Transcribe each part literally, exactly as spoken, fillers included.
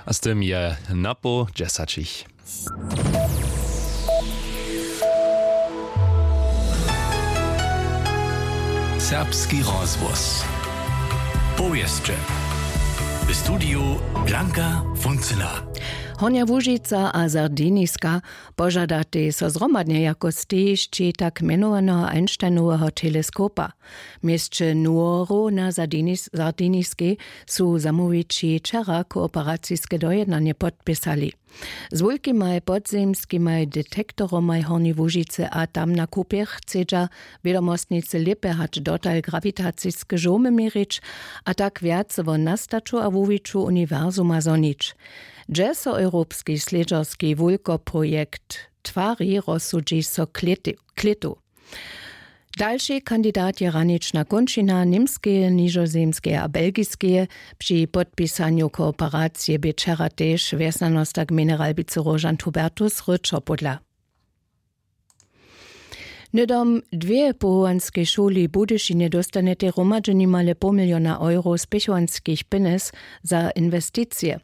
A z tym je napoł dźesaćich. Serbski rozhłos. Powěsće. W studiju Blanka Funcyna. Hornja Łužica a Sardiniska požadatej so zhromadnje jako stejišći tak mjenowaneho Einsteinoweho teleskopa. W měsće Nuoro na Sardinis-, Sardiniskej su zamołwići wčera kooperaciske dojednanje podpisali. Z wulkimaj podzemskimaj detektoromaj w Hornjej Łužicy a tam na kupjech chcedźa wědomostnicy lěpje hač dotal grawitaciske žołmy měrić a tak wjace wo nastaću a wuwiću uniwersuma zhonić. Dźe so europski slědźerski wulkoprojekt twari, rozsudźi so klětu. Dalši kandidat je hranična kónčina Němskeje, Nižozemskeje a Belgiskeje. Při podpisanju kooperacije bě wčera tež wjesnjanosta gmejny Ralbicy Róžant Hubertus Ryčo pódla. Hnydom dwě powołanskej šuli w Budyšinje dóstanjetej hromadźe nimale poł miliona euro spěchowanskich pjenjez za inwesticije.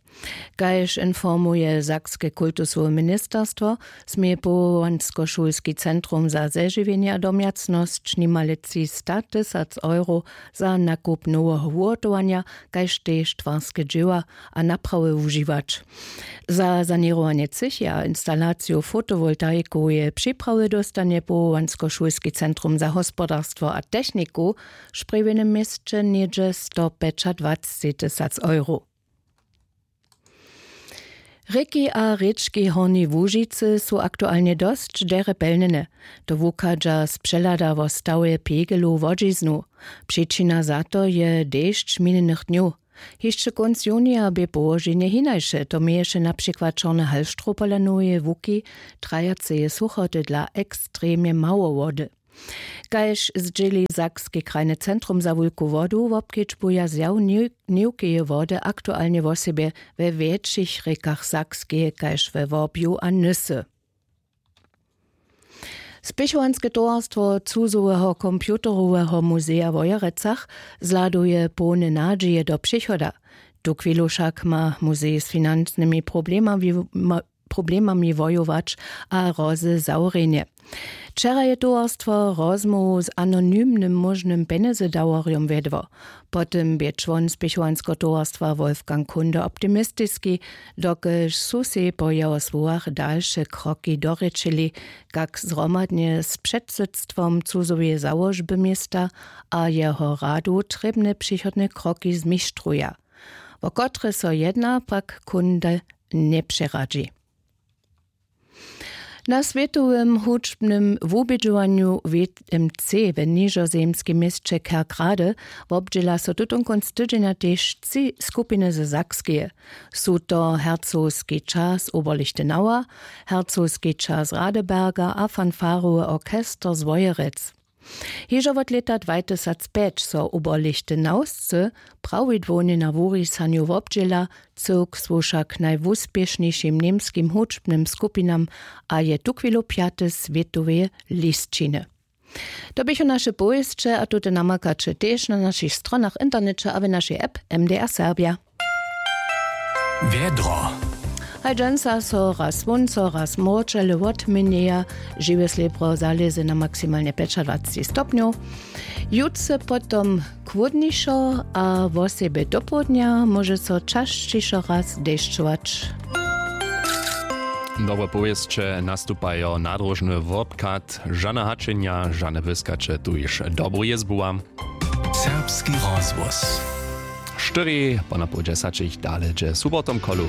Kaž informuje sakske kultusowe ministerstwo, smě powołanskošulski centrum za zežiwjenje a domjacnosć nimale třista tysac euro za nakup noweho wuhotowanja kaž tež twarske dźěła a naprawy wužiwać. Za saněrowanje třěchi a instalaciju fotowoltaikoweje připrawy dóstanje powołanskošulski centrum za hospodarstwo a techniku w sprjewjenym měsće něhdźe stopjećadwacci tysac euro. Rěki a rěčki Hornjej Łužicy su aktualnje dosć derje pjelnjene. To wuchadźa z přehlada wo stawje pegelow wodźiznu. Přičina za to je dešć minjenych dnjow. Hišće kónc junija bě połoženje hinaše, to měješe na přikład čorny halštrow pola noweje łuki, trajaceje suchoty dla ekstremnje mało wody. Kaž zdźěli sakske krajne centrum za wulku wodu, wobkedźbuja zjaw něwkeje wody aktualnje wosebje we wjetšich rěkach sakskeje kaž we wobju a nysy. Spěchowanske towarstwo cuzoweho computeroweho muzeja w wojerecach zhladuje połne nadźije do přichoda. Tuchwilu wšak ma muzej z financnymi problemami problemami wojować a hrozy zawrjenje. Wčera je towarstwo rozmołwu z anonymnym móžnym pjenjezydaworjom wjedło. Po tym bě čłon spěchowanskeho towarstwa wolfgang kunde optimistiski, dokelž su sej po jeho słowach dalše kroki dorěčili, kak zhromadnje z předsydstwom cuzoweje załožby města a jeho radu trěbne přichodne kroki zmištruja. Wo kotre so jedna pak kunde njepřeradźi. Na swětowym hudźbnym wubědźowanju w m c w nižozemskim měsće kerkrade wobdźěla so tutonkónc tydźenja tež tři skupiny ze sakskeje. Su to hercogski čas oberlichtenauer, hercogski čas radeberga a fanfarowy orchester z wojerec. Hižo wot lěta dwatysacpjeć so oberlichtenaurscy prawidłownje na wurisanju wobdźěla. Cyłk słuša k najwuspěšnišim němskim hudźbnym skupinam a je tuchwilu pjaty swětoweje lisćiny. To běchu naše powěsće a tute namakaće tež na našich stronach w interneće a w našej app. M D R Serbja. Wjedro. Haj dźensa so raz słónco raz mróčele wotměnjeja. Žiwe slěbro zalěze na maksimalnje pjećadwacci stopnjow. Jutře potom chłódnišo a wosebje dopołdnja móže so časćišo raz dešćować. Dobre powěsće nastupajo nadróžny wobchad. Žane hačenja, žane wyskaće, tuž dobru jězbu wam. Serbski rozhłos. Štyri ponapoł dźesaćich dale dźe subotom kolu.